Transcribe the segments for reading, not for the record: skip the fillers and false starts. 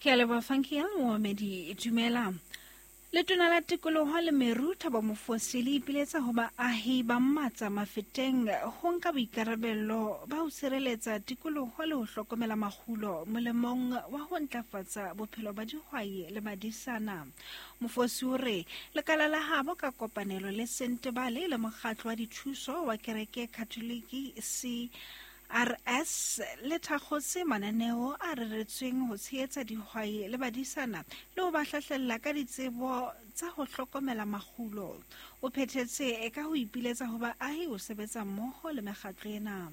Ke a leboha Funky Moomedi, dumela. Letona la Tikoloho le Meru Thabo Mofosi le ipiletsa ho baahi ba Mmatsa Mafeteng ho nka boikarabello ba ho sireletsa tikoloho le ho hlokomela makgulo molemong wa ho ntlafatsa bophelo ba dihwai le badisana. Mofosi o re lekala la habo ka kopanelo le Sentebale le mokgatlo wa dithuso wa kereke Katholiki CRS le thakgotse mananeo a reretsweng ho tshehetsa dihwai le badisana le ho ba hlahlella ka ditsebo tsa ho hlokomela makgulo. O phethetse ka ho ipiletsa ho baahi ho sebetsa mmoho le mekgatlo ena.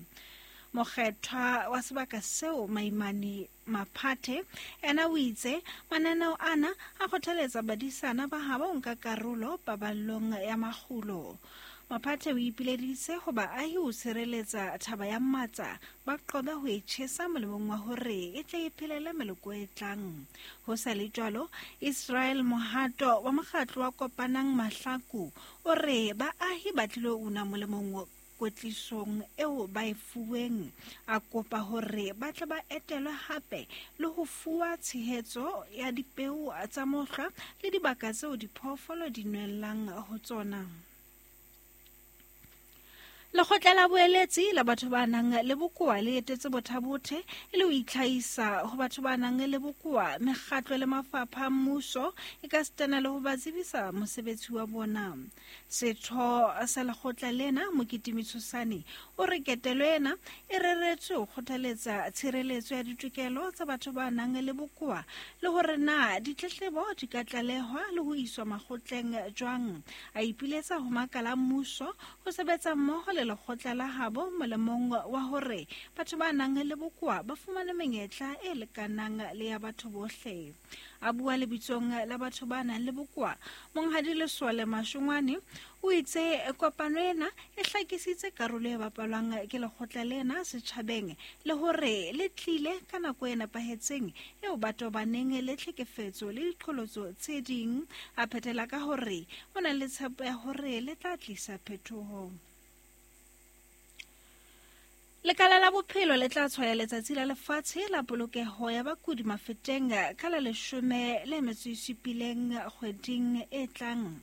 Mokgethwa wa sebaka seo Maimane Maphathe ena o itse mananeo ana a kgothaletsa badisana ba habo ho nka karolo paballong ya makgulo. Maphathe o ipileditse ho baahi ho sireletsa thaba ya Matsa, ba qobe ho e tjhesa molemong wa hore e tle e phelele meloko e tlang. Ho sa le jwalo, Israel Mohato wa mokgatlo wa Kopanang Mahlaku o re baahi ba tlilo una molemong kwetlisong eo ba e fuweng. A kopa hore ba tle ba etelwe hape le ho fuwa tshehetso ya dipeo tsa mohlwa le dibaka tseo diphoofolo di nwellang ho tsona. Lekgotla la boeletsi la batho ba nang le bokoa le etetse Bothabothe e le ho itlhahisa ho batho ba nang le bokoa, mekgatlo le mafapha a mmuso e ka sitana le ho ba tsebisa mosebetsi wa bona. Setho sa lekgotla lena, Mokitimi Tshosane, o re ketelo ena e reretswe ho kgothaletsa tshireletso ya ditokelo tsa batho ba nang le bokoa le hore na ditletlebo di ka tlalehwa le ho iswa makgotleng jwang. A ipiletsa ho makala a mmuso ho sebetsa mmoho le lekgotla la habo molemong wa hore batho ba nang le bokoa ba fumane menyetla e lekanang le ya batho bohle. A bua lebitsong la batho ba nang le bokoa, Monghadi Lesole Mashongwane o itse kopano ena e hlakisitse karolo e bapalwang ke lekgotla lena setjhabeng le hore le tlile ka nako e nepahetseng eo ba tobaneng le tlhekefetso le diqholotso tse ding. A phethela ka hore o na le tshepo ya hore le tla tlisa phetoho. Lekala la bophelo le tla tshwaya letsatsi la lefatshe la polokeho ya bakudi mafeteng ka la 17 kgweding e tlang.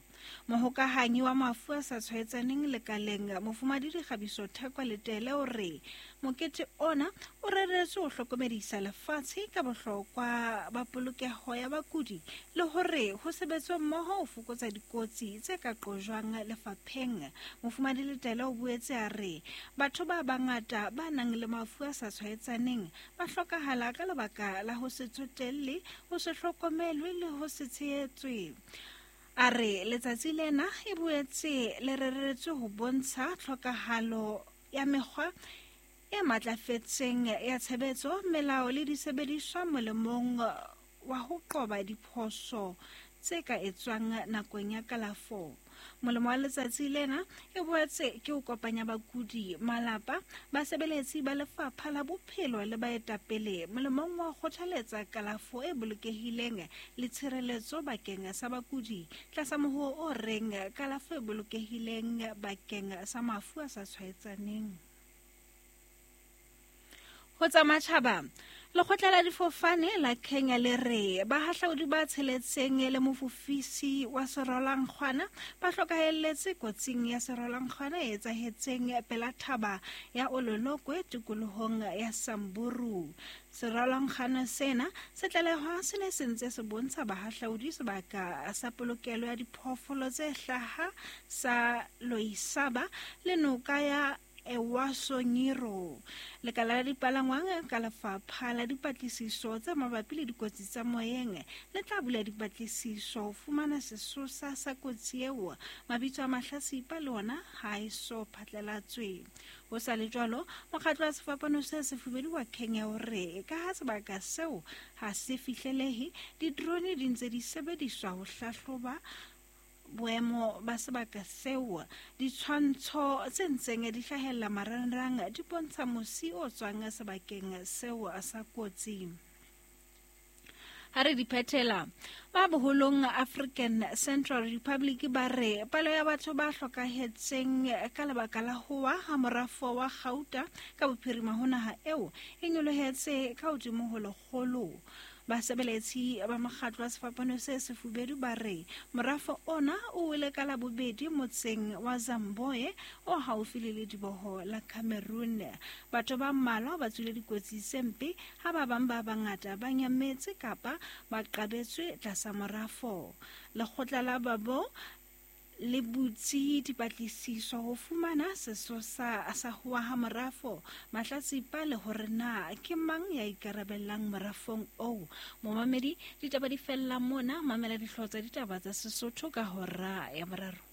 Mohokahanyi wa mafu a sa tshwaetsaneng lekaleng Mofumadi Dikgabiso Thekwa Letele o re mokete ona o reretswe ho hlokomedisa lefatshe ka bohlokwa ba polokeho ya bakudi le hore ho sebetswe mmoho ho fokotsa dikotsi tse ka qojwang lefapheng. Mofumadi Letele o boetse a re Batho ba bangata ba nang le mafu a sa tshwaetsaneng ba hlokahala ka lebaka la ho se tsotelle, ho se hlokomelwe le ho se tshehetswe. A re letsatsi lena e boetse le reretswe ho bontsha tlhokahalo ya mekgwa e matlafetseng ya tshebetso, melao le disebediswa molemong wa ho qoba diphoso tse ka etswang nakong ya kalafo. Molemo wa letsatsi lena e boetse ke ho kopanya bakudi, malapa, basebeletsi ba lefapha la bophelo le baetapele molemong wa ho kgothaletsa kalafo e bolokehileng le tshireletso bakeng sa bakudi tlasa mohoo o reng kalafo e bolokehileng bakeng sa mafu a sa tshwaetsaneng. Ho tsa matjhaba, lekgotla la difofane la Kenya le re bahahlaudi ba tsheletseng le mofofisi wa serwalankgwana ba hlokahelletse kotsing ya serwalankgwana e etsahetseng pela thaba ya Ololokwe tikolohong ya Samburu. Serwalankgwana sena se tlalehwa se ne se ntse se bontsha bahahlaudi sebaka sa polokelo ya diphoofolo tse hlaha sa Loisaba le noka ya Ewaso Nyiro. Lekala la dipalangwang ka lefapha la dipatlisiso tse mabapi le dikotsi tsa moyeng le tla bula dipatlisiso ho fumana sesosa sa kotsi eo. Mabitso a mahlasipa le ona ha e so phatlalatswe. Ho sa le jwalo, mokgatlo wa sefapano se sefubedu wa Kenya o re ka ha sebaka seo ha se fihlelehe, di-drone di ntse di sebediswa ho hlahloba boemo ba sebaka seo. Ditshwantsho tse ntseng di hlahella marangrang di bontsha mosi o tswang sebakeng seo sa kotsi. Ha re di phethela, ba boholong African Central Republic ba re palo ya batho ba hlokahetseng ka lebaka la ho wa ha morafo wa kgauta ka bophirima ho naha eo e nyolohetse ka hodimo ho 100. Basebeletsi ba mokgatlo wa Sefapano se Sefubedu ba re morafo ona o wele ka Labobedi motseng wa Zamboe o haufi le lediboho la Cameroon. Batho ba mmalwa ba tswile dikotsi tse mpe ha ba bang ba bangata ba nyametse kapa ba qabetswe tlasa morafo. Lekgotla la Babo le butse dipatlisiso ho fumana sesosa sa ho wa ha morafo, mahlatsipa le hore na ke mang ya ikarabellang morafong oo. Momamedi, ditaba di fella mona, mamela dihlooho tsa ditaba tsa Sesotho ka hora ya boraro.